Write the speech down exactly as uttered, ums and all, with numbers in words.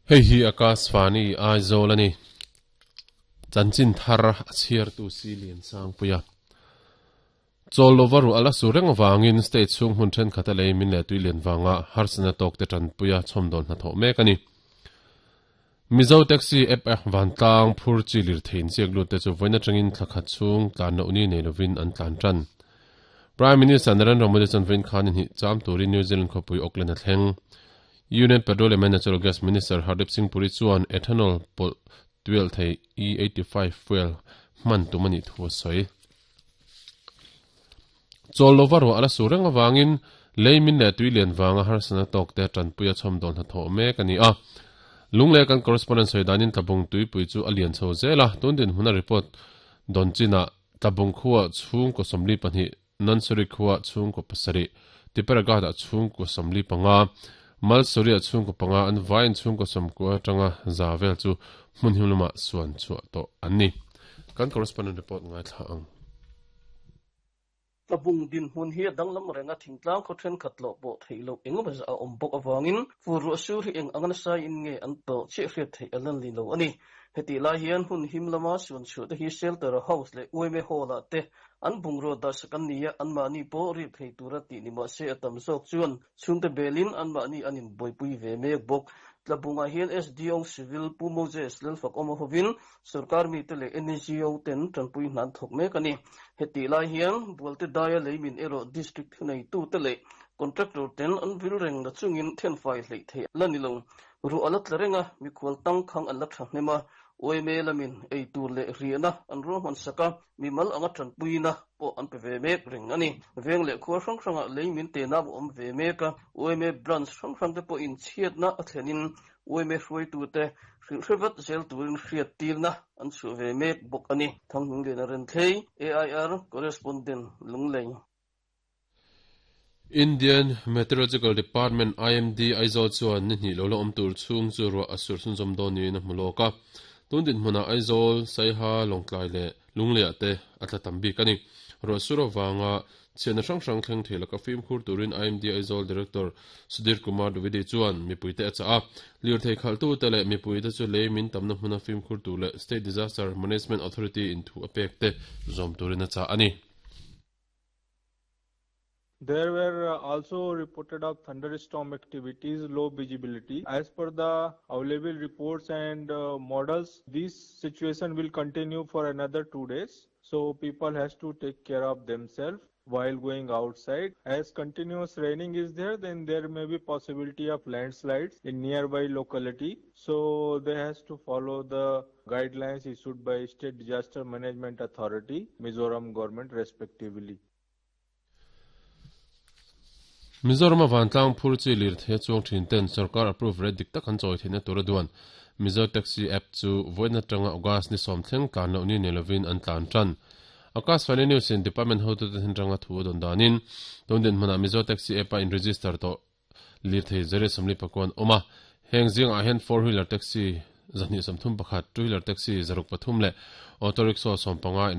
Hei hi Akashvani Aizawl ani. Chanchin thar a chhiar tu si lian sang puia. Chawl lova ru ala su reng wangin state chung hun then khata lei min le tui lian wanga harsana tok te tan puia chhomdon hna tho mek ani. Mizo taxi app a vantlang phur chi lir thein chiak lut te chu voina tangin thlakhat chung tlan no ni nei lovin an tlan tan. Prime Minister Narendra Modi chan vein khan in hi cham turin New Zealand khopui Auckland a thleng. Union Petroleum and Natural Gas Minister Hardeep Singh Puri chuan ethanol pol twelve thei E eighty-five fuel man tumani thu soi. Chawl lova ro ala su reng awangin leimin le tuilian wanga harsana tok te tan puia chhomdon hna tho mek ani a. Lungle kan correspondent soidanin tabung tui pui chu alian chho zela tundin huna report donchina tabung khuwa chung ko somli pani nansuri khuwa chung ko pasari tiparaga da chung ko somli panga malsuri a chung ko panga an vain chung ko som ko tanga zavel chu hmun himluma suan chu to anni kan correspondent report ngai thla ang. Tabung din hun hi danglam renga thingtlang kho then khatlo bo theilo engemaw a awm bawk awangin fur sur hi eng angana sai in nge an to che hriat thei alan li lo ani. Heti lai hian hun him lama suan chu te hi shelter house le uime hall a te an bungro da sakan nia an mani po ri thei tura ti ni ma se atam zawk chuan chungte belin an mani anin boipui ve mek bawk. Tlabunga hian S D O Civil Pu Moses Lalfak awm hovin sarkar mi te leh N G O ten tanpui hnan thawk mek ani. Heti lai hian bualte daia leimin erawh district thunei tu te leh contractor ten an vil reng na chungin thenfai hlei thei la ni lo. Ru ala tla renga mikhual tang khang an la tha hnema oime lamin ei tur leh riahna an ruahman saka mimal anga tanpuina pawh an pe ve mek reng ani. Veng leh khuar hrang hranga leimin te na awm ve mek a oime branch hrang hrang te pawh in chhiatna a thlenin oime hruaitu te hrilhrevat zel turin hriat tirna an chhuah ve mek bawk ani. Thanghming lian a ren thlei A I R correspondent Lunglei. Indian Meteorological Department I M D Aizawl chuan ni hnih lo la awm tur chhung chu ruah a sur chhun zawm dawn niin a hmu lawk a. Tundin hmuna Aizawl Saiha Lawngtlai le Lunglei te a tla tam bik ani. Ruah sur awanga chhiatna hrang hrang thleng thei laka fimkhur turin I M D Aizawl Director Sudhir Kumar Dwivedi chuan mipui te a chah a. Lir thei khalh tu te leh mipui te chu leimin tamna hmuna fimkhur tur leh State Disaster Management Authority in thu a pek te zawm turin a chah ani. There were also reported of thunderstorm activities, low visibility. As per the available reports and uh, models, this situation will continue for another two days. So people has to take care of themselves while going outside. As continuous raining is there, then there may be possibility of landslides in nearby locality. So they has to follow the guidelines issued by State Disaster Management Authority, Mizoram government respectively. Mizoram vantlang phur chi lir the chuang thin ten sarkar approve red dik tak an chawi theihna tura duan Mizo taxi app chu voina tanga August ni som thleng tlan lo ni nelovin an tlan tan. Akashvani News in department hotu te hin ranga thu don danin tundin hmana Mizo taxi app a in register to lir thei zere somli pakwan oma heng jing a hen four wheeler taxi zani samthum pakhat two wheeler taxi zaruk pathum le auto rickshaw som panga in